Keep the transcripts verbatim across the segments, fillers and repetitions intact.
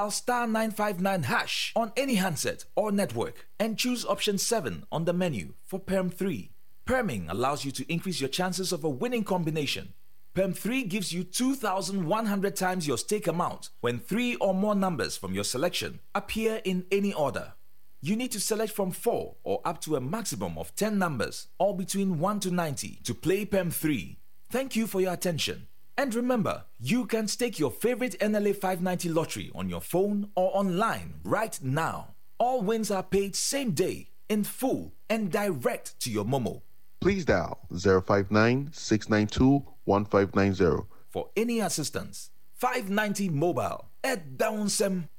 star nine five nine hash on any handset or network and choose option seven on the menu for Perm three. Perming allows you to increase your chances of a winning combination. Perm three gives you two thousand one hundred times your stake amount when three or more numbers from your selection appear in any order. You need to select from four or up to a maximum of ten numbers, all between one to ninety, to play P E M three. Thank you for your attention. And remember, you can stake your favorite N L A five ninety lottery on your phone or online right now. All wins are paid same day, in full, and direct to your Momo. Please dial zero five nine six nine two one five nine zero. For any assistance, five ninety Mobile at Downsem.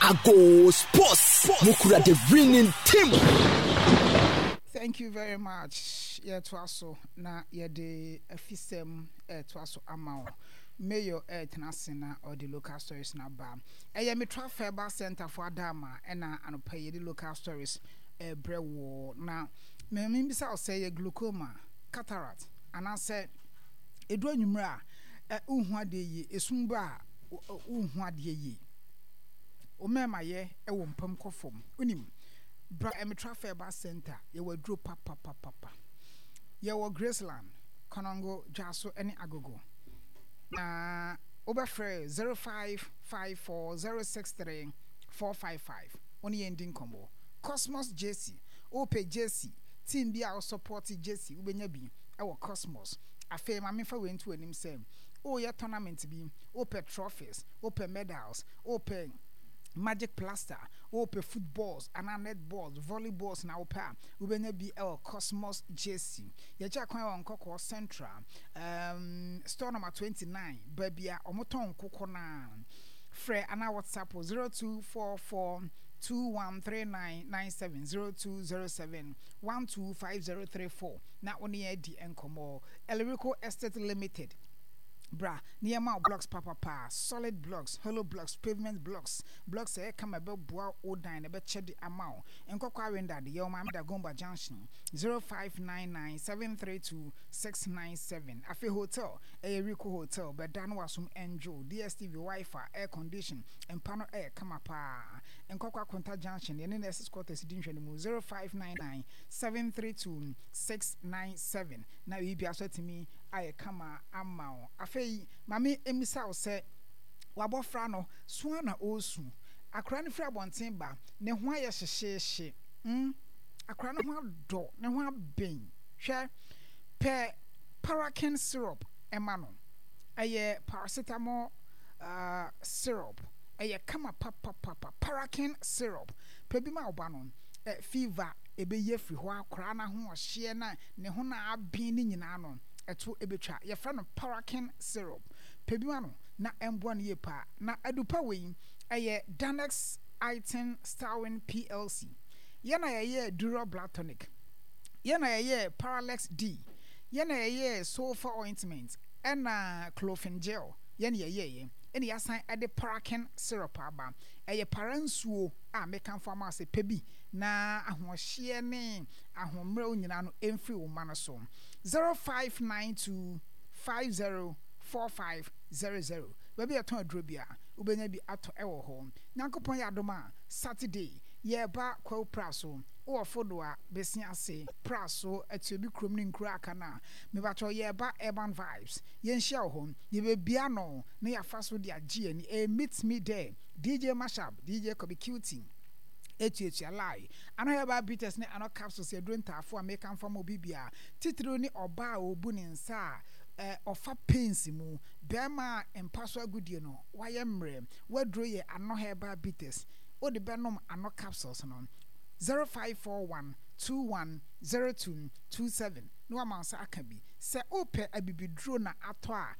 Ago Sports, Mukura, the winning team. Thank you very much. Yɛtoa so na yɛde afisɛm ɛtoa so ama wo. Mayor ɛtena ase na ɔde local stories na ba. Ɛyɛ Mitra Herbal Center for Adama ɛna anɔpa yi yɛde local stories ɛbrɛ wɔ na mmemme bisa wo sɛ yɛ glaucoma, cataract anaasɛ edu anwummerɛ a ɛ wohu adeɛ yie, esum ba a wohu adeɛ yie, wo mmarima yɛ ɛwɔ mpam kɔ fam, wonim bra Mitra Herbal Center. Yɛwɔ aduro papapapapa. Yɛwɔ Graceland, Kɔnɔngo, Dwaso ne Agogo na wobɛfrɛ zero five five four zero six three four five five wo ne yɛn di nkɔmmɔ. Cosmos J C, wopɛ J C team bi a wosupport J C, wobɛnya bi ɛwɔ Cosmos. Afei ma memfa wei nto anim sɛ woyɛ tournament bi, wopɛ trophies, wopɛ medals, wopɛ magic plaster, wopɛ footballs anaa netballs, volleyballs na wopɛ a, wobɛnya bi ɛwɔ Cosmos J C. Yɛkyɛ kwan wɔ Nkɔkɔɔ Central, um, store number twenty-nine, baabi a ɔmotɔn nkokɔ naa. Frɛ anaa WhatsApp zero two four four two one three nine nine seven, zero two zero seven one two five zero three four na wo ne yɛn adi nkɔmmɔ. Elrico Estate Limited, bra nneɛma blocks papapa, solid blocks, hollow blocks, pavement blocks, blocks ɛyɛ kama, ɛbɛboa wo dan na ɛbɛkyɛ de ama wo. Nkɔkɔ Awenda de yɛwɔ Maame Dagomba Junction, zero five nine nine seven three two six nine seven. Afei hotel ɛyɛ Rico Hotel, bɛda no wasom enjoy D S T V, WiFi, air condition, mpa no ɛyɛ kama paa. Nkɔkɔ Akonta Junction, yɛne nurses quarters di nhwɛ no mu, zero five nine nine seven three two six nine seven na biribi aso atumi ayɛ kama ama wo. Afei maame emisa wo sɛ wabɔfra no soa na ɔresu, akora no firi abɔnten ba, ne ho ayɛ hyehyeehye, mm akora no ho adɔ, ne ho aben. Hwɛ, pɛ Parakin syrup ɛma no. Ɛyɛ paracetamol uh, syrup, ɛyɛ kama papapapa. Parakin syrup, pɛ bi ma ɔba no. ɛ fever ɛbɛyi afiri hɔ, akora no ho ɔhyeɛ na ne ho na aben ne nyinaa no ɛto ɛbɛtwa. Yɛfrɛ no Parakin syrup. Pɛ bi ma no na ɛmboa no yie paa. Na adupa wei ɛyɛ Danex Itin Starwin P L C. Yɛn na yɛyɛ Duro Blood Tonic, yɛn na yɛyɛ Paralex D, yɛn na yɛyɛ sulfur ointment ɛna clofen gel. Yɛn na yɛyɛ yɛ ɛna yɛasan ɛde Parakin syrup aba. Ɛyɛ para nsuo a mekanfo ama sɛ pɛ bi na ahoɔhyeɛ ne ahoɔmmerɛw nyinaa no ɛmfiri wo ma no so. zero five nine two five zero four five zero zero, baabi a yɛtɔn aduro bi a wobɛnya bi atɔ ɛwɔ hɔ. Nyankopɔn yɛ adom a, Saturday yɛreba Kwawu Pra so, wowɔ Fodo a bɛsi ase Pra so atuobi kurom ne nkuro aka no a mebatɔ. Yɛreba Urban Vibes, yɛnhyia wɔ hɔ, yɛbɛbia no na yɛafa so de agye ani. Ɛyɛ Meet Me There, D J Mashup, D J Kobi Cutie etuatua lie ano. Herbal bitters ne ano capsules, yɛduro ntaafo a meka mfa ma obi bia, titiriw ne ɔbaa a ɔbu ne nsa a ɔfa pains mu, bɛrima a mpa so agodie no wayɛ mmerɛ, waduro yɛ ano herbal bitters, wode bɛnom ano capsules no. zero five four one two one zero two two seven na wama nsa aka bi. Sɛ wopɛ abibiduro na atɔ a,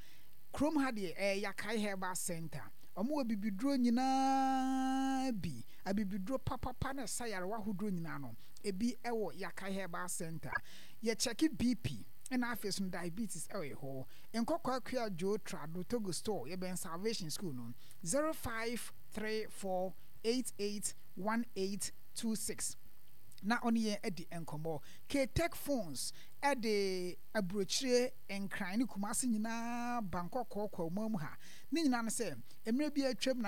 kurom ha deɛ ɛyɛ Yakae Herbal Center. Ɔmo wɔ bibiduro nyinaa bi, abibiduro papapa na ɛsa yarewa ahodoɔ nyinaa no ebi ɛwɔ Yakae Herbal Center. Yɛkyɛke B P ɛna afei so diabetes ɛwɔ hɔ. Nkɔkɔ Akua Joe Trado Togo Store, yɛbɛn Salvation School no. zero five three four eight eight one eight two six na ɔne yɛn adi nkɔmmɔ. Ktech Phones ɛde aburokyire, Nkran ne Kumase nyinaa ba Nkɔkɔɔ Kwauma mu ha ne nyinaa no sɛ mmerɛ bi atwam na